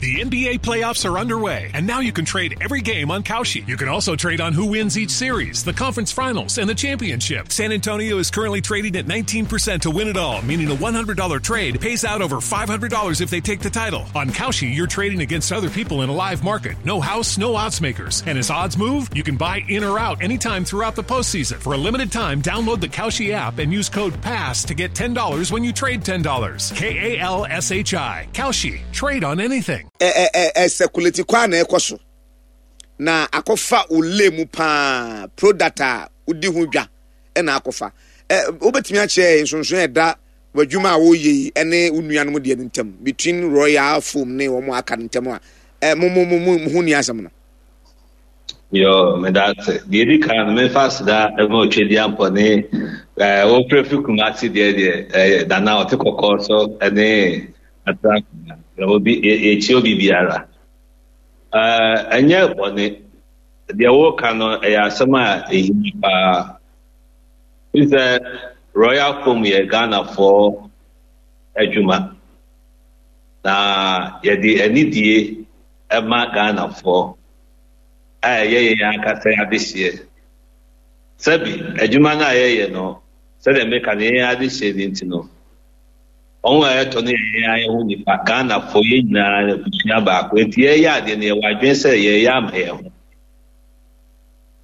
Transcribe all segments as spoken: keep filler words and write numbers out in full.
The N B A playoffs are underway, and now you can trade every game on Kalshi. You can also trade on who wins each series, the conference finals, and the championship. San Antonio is currently trading at nineteen percent to win it all, meaning a one hundred dollar trade pays out over five hundred dollars if they take the title. On Kalshi, you're trading against other people in a live market. No house, no odds makers. And as odds move, you can buy in or out anytime throughout the postseason. For a limited time, download the Kalshi app and use code PASS to get ten dollars when you trade ten dollars. K A L S H I. Kalshi. Trade on anything. ɛ ɛ ɛ circulate kwan na ɛkɔ so na akɔfa ole mu paa, product a wodi ho dwa ɛna akɔfa. Ɛ wobɛtumi akyerɛ nsonson ɛda w'adwuma a wɔreyɛ yi ɛne wo nuanom deɛ no ntam, between Royal Foam ne wɔn aka no ntam a ɛ mo mo mo mo ho ni asɛm no? Yo, meda ase. Deɛ edi kan no, mefa aseda ma Otwedi Ampɔ ne ɛɛ wɔfrɛ fi Kumasi deɛ deɛ ɛyɛ Nana ɔte kɔkɔɔ so ɛne atra obi yɛkyia obi biara. Ɛɛ ɛnyɛ bɔne. Deɛ wɔreka no ɛyɛ asɛm a ehia paa. Fi sɛ Royal Foam yɛ Ghanafoɔ adwuma. Na yɛde anidie ɛma Ghanafoɔ a ɛyɛ yɛn ankasa adehyeɛ. Sɛbi, adwuma no a yɛyɛ no, sɛdeɛ meka no, yɛn adehyeɛ no nti no, wɔn a yɛtɔ no yɛ yɛn ayɛ ho nipa. Ghanafoɔ yɛn nyinaa abusua baako. Nti yɛyɛ adeɛ no, yɛwɔ adwene sɛ yɛyɛ ama yɛn ho.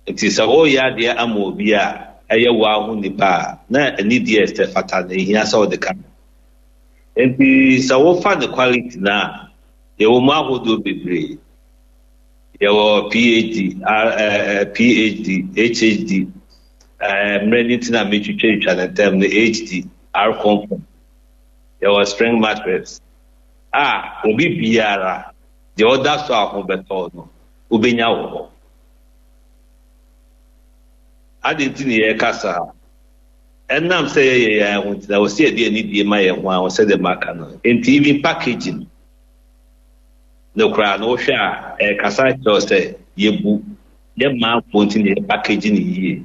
Nti sɛ wɔreyɛ adeɛ ama obi a ɛyɛ wo aho nipa a, na anidie ɛsɛ fata na ehia sɛ ɔde ka. Nti sɛ wofa ne quality no a, yɛwɔ mu ahodoɔ bebree. Yɛwɔ P H D, R, uh, P H D, H H D, uh, mmerɛ ne ti na metwitwa ne ntɛm no, H D, R Comfort. Yɛwɔ spring mattress a obi biara deɛ ɔda so a ho bɛtɔ no wobɛnya wɔ hɔ. Ade nti ne yɛreka saa, ɛnam sɛ yɛyɛ yɛn ho nti na wɔsi yɛde anidie ma yɛn ho a sɛdeɛ maka no. Nti even packaging no koraa no, wohwɛ a, ɛkasa kyerɛw sɛ yɛbu yɛ manfoɔ nti na yɛ packaging no yie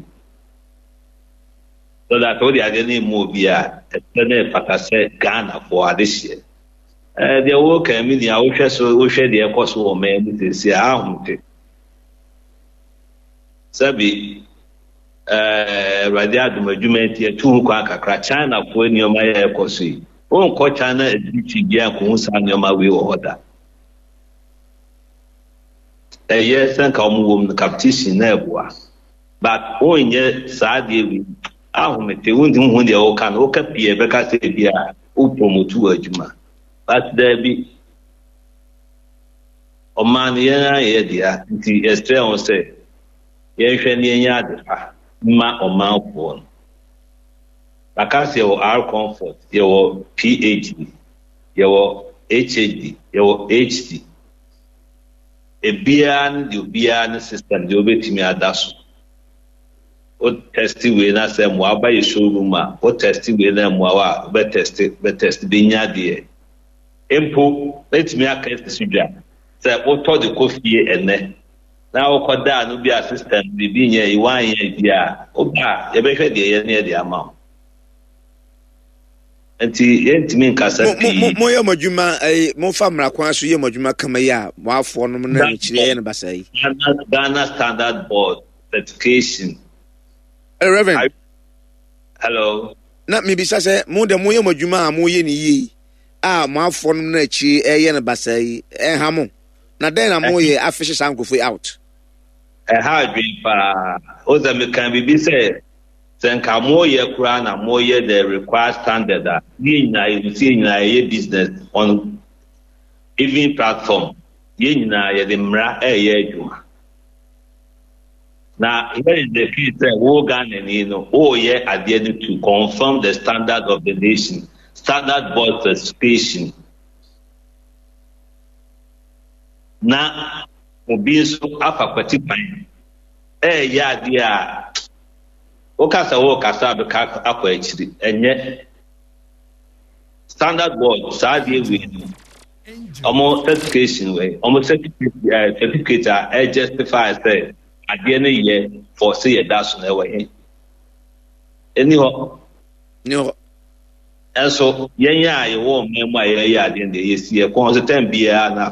so that wode adeɛ no mu obi a ɛsɛ na ɛfata sɛ Ghanafoɔ adehyeɛ. Ɛɛ deɛ wɔka mi nea wohwɛ so, wohwɛ deɛ ɛkɔ so wɔ man mu sɛsi a, ahomte sɛbi ɛɛ Awurade adom adwuma nti yɛtu ho kwan kakra. Chinafoɔ nneɛma yɛ ɛkɔ so yi, wonkɔ China akyirikyiri biara nkohu saa nneɛma wei wɔ hɔ da. Ɛyɛ sɛ nka wɔn wɔ mu no competition na ɛboa, but wonyɛ saa adeɛ wei ahomete. Wontumi hu deɛ woka no, woka pii a ɛbɛka sɛ bi a wo promote wɔ adwuma, but daabi, ɔman no yɛn ayɛ dea. Nti yɛsrɛ wɔn sɛ yɛnhwɛ ne yɛnyɛ ade pa mma ɔmanfoɔ no. Baka sɛ yɛwɔ R Comfort, yɛwɔ P H D, yɛwɔ H H D, yɛwɔ H D. Ebiara ne deɛ obiara ne system deɛ wobɛtumi ada so. Wo test wei na sɛ mmoa aba yɛ showroom a, wo test wei na mmoa wa a, wobɛ test, wobɛ test bɛnya deɛ mpo mɛtumi aka asi so dwa sɛ wotɔ de kɔ fie ɛnɛ na wokɔ daa no bi a system biribi nyɛ yi wanyɛ bi a, woba a yɛbɛhwɛ deɛ yɛ ne yɛde ama wo. Nti yɛntumi nkasa pii. Moyɛ mo adwuma ɛyi, momfa mmara kwan so yɛ mo adwuma kama yi a, mo afoɔ nom na mekyerɛ yɛ no basa yi. Ghana, Ghana Standard Board certification. Hello, Reverend. Hello. Na mebisa sɛ mo deɛ moyɛ mo adwuma a moyɛ no yie yi a, mo afoɔ nom na akyiri ɛyɛ no basa yi, ɛnha mo? Na dɛn na moyɛ afehye saa nkurɔfoɔ yi out? Ɛha adwene paa o. Sɛ meka biribi sɛ sɛ nka moyɛ koraa na moyɛ the required standard a, ne nyinaa yɛhu sɛ yɛn nyinaa yɛyɛ business on even platform. Yɛn nyinaa yɛde mmara ɛyɛ adwuma. Na here is the case sɛ wo Ghanani no, woyɛ adeɛ no to confirm the standard of the nation, Standard Board certification, na obi nso afa kwati kwan ɛyɛ adeɛ a wokasa, wokasa bɛka akɔ akyiri. Ɛnyɛ Standard Board saa adeɛ wei no, ɔmo certification wei, ɔmo certificate ɛɛ certificate a ɛjustify sɛ adeɛ no yɛ for sɛ yɛda so no, ɛwɔ he? Ɛni hɔ. Ni hɔ. Ɛnso yɛn a yɛwɔ ɔman mu a yɛyɛ adeɛ no deɛ, yɛsi yɛ kɔn so tɛn biara na